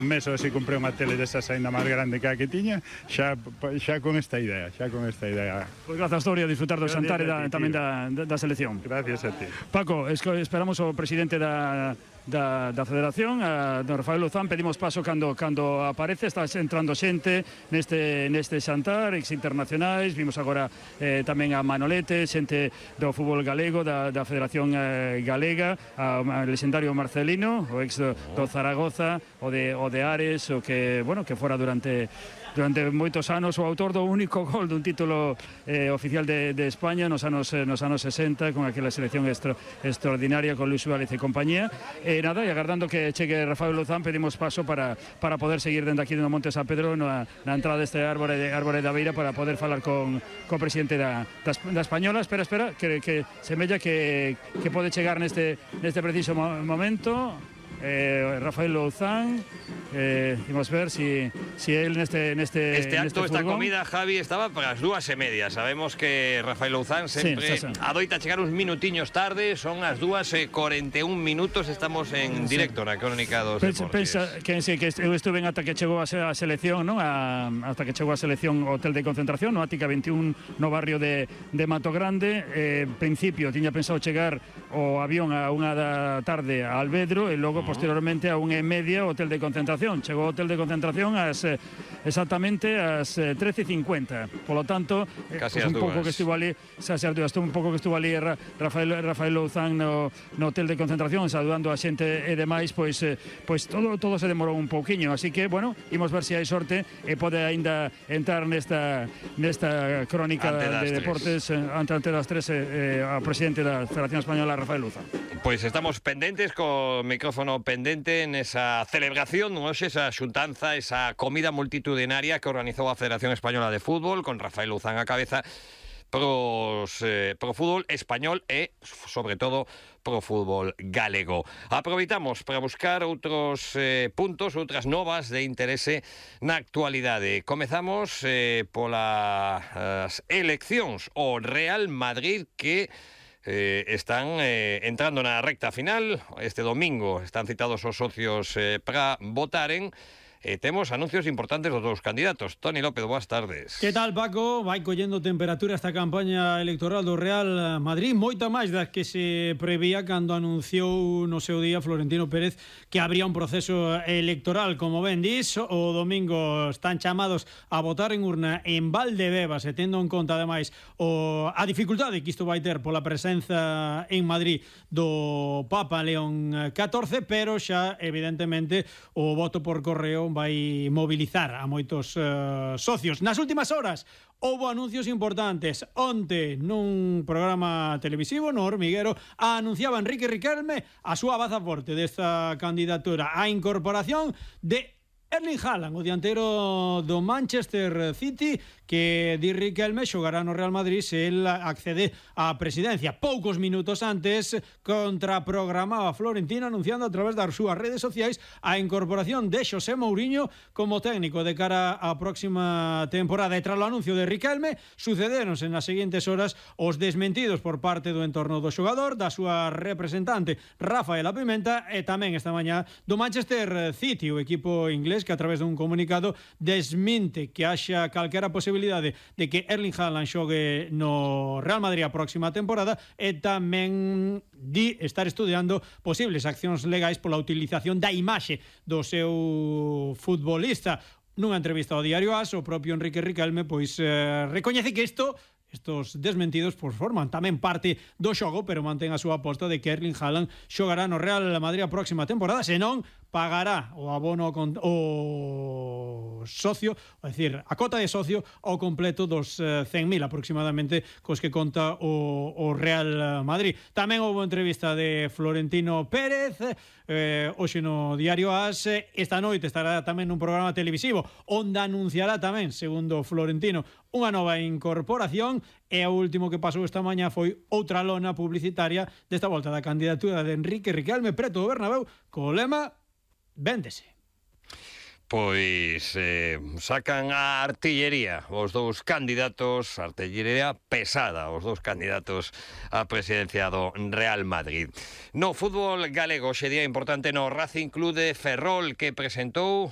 Un mes ou así comprei unha tele desas ainda máis grande que a que tiña, xa con esta idea, Pois grazas, Toria, a disfrutar do xantar e tamén da selección. Gracias a ti. Paco, esperamos o presidente da Federación, don Rafael Luzán. Pedimos paso cando aparece. Está entrando xente neste xantar, ex internacionais. Vimos agora tamén a Manolete, xente do fútbol galego, da Federación Galega, a lexendario Marcelino, o ex do Zaragoza, o de Ares, o que fora durante moitos anos o autor do único gol dun título oficial de España nos anos 60, con aquela selección extraordinaria con Luis Suárez e compañía. E agardando que chegue Rafael Luzán, pedimos paso para poder seguir dende aquí no Monte San Pedro na entrada deste árbore da Beira, para poder falar con o presidente da Española. Espera, que semella que pode chegar neste preciso momento. Rafael Luzán, vamos a ver si él este acto, esta comida, Javi, estaba para as 2:30. Sabemos que Rafael Luzán sempre adoita chegar uns minutiños tarde. Son as 2:41 minutos. Estamos en directo na Crónica dos Deportes. Pensa que eu estuve ata que chegou a selección, non? Hasta que chegou a selección ao hotel de concentración, no Ática 21, no barrio de Mato Grande. Principio tiña pensado chegar o avión a 1 da tarde a Alvedro e logo posteriormente a 1:30 o hotel de concentración. Chegou ao hotel de concentración exactamente ás 13:50. Por lo tanto, casi un pouco que estuvo ali, Rafael Luzán no hotel de concentración, saludando a xente e demais, pois todo se demorou un pouquiño, así que, imos ver se hai sorte e pode aínda entrar nesta crónica de deportes ante das 3 a presidente da Federación Española, Rafael Luzán. Pois estamos pendentes, co micrófono pendente en esa celebración, esa xuntanza, esa comida multitudinaria que organizou a Federación Española de Fútbol, con Rafael Luzán a cabeza, pro fútbol español e, sobre todo, pro fútbol galego. Aproveitamos para buscar outros puntos, outras novas de interese na actualidade. Comezamos polas eleccións. O Real Madrid, que están entrando na recta final. Este domingo están citados os socios para votaren. Temos anuncios importantes dos dous candidatos. Toni López, boas tardes. Que tal, Paco? Vai collendo temperatura esta campaña electoral do Real Madrid, moita máis das que se prevía cando anunciou no seu día Florentino Pérez que habría un proceso electoral. Como ben dis, o domingo están chamados a votar en urna en Valdebebas, e tendo en conta ademais a dificultade que isto vai ter pola presenza en Madrid do Papa León XIV, pero xa evidentemente o voto por correo vai mobilizar a moitos socios. Nas últimas horas houbo anuncios importantes. Onte, nun programa televisivo, no Hormiguero, anunciaba Enrique Riquelme a súa baza forte desta candidatura, a incorporación de Erling Haaland, o dianteiro do Manchester City, que di Riquelme xogará no Real Madrid se el accede á presidencia. Poucos minutos antes, contraprogramaba Florentino anunciando a través das súas redes sociais a incorporación de José Mourinho como técnico de cara á próxima temporada. E tras o anuncio de Riquelme, sucederonse nas seguintes horas os desmentidos por parte do entorno do xogador, da súa representante Rafaela Pimenta, e tamén esta mañá do Manchester City, o equipo inglés, que a través dun comunicado desmente que haxa calquera posibilidade de que Erling Haaland xogue no Real Madrid a próxima temporada, e tamén di estar estudiando posibles accións legais pola utilización da imaxe do seu futbolista. Nunha entrevista ao diario AS, o propio Enrique Riquelme recoñece que estos desmentidos forman tamén parte do xogo, pero mantén a súa aposta de que Erling Haaland xogará no Real Madrid a próxima temporada, senón pagará o abono o socio, é dicir, a cota de socio ao completo dos 100.000 aproximadamente cos que conta o Real Madrid. Tamén houve entrevista de Florentino Pérez hoxe no diario AS. Esta noite estará tamén nun programa televisivo onde anunciará tamén, segundo Florentino, unha nova incorporación. E o último que pasou esta mañá foi outra lona publicitaria desta volta da candidatura de Enrique Riquelme preto do Bernabéu co lema Véndese. Pois sacan a artillería os dous candidatos, artillería pesada, os dous candidatos á presidencia do Real Madrid. No fútbol galego, xe día importante no Racing Club de Ferrol, que presentou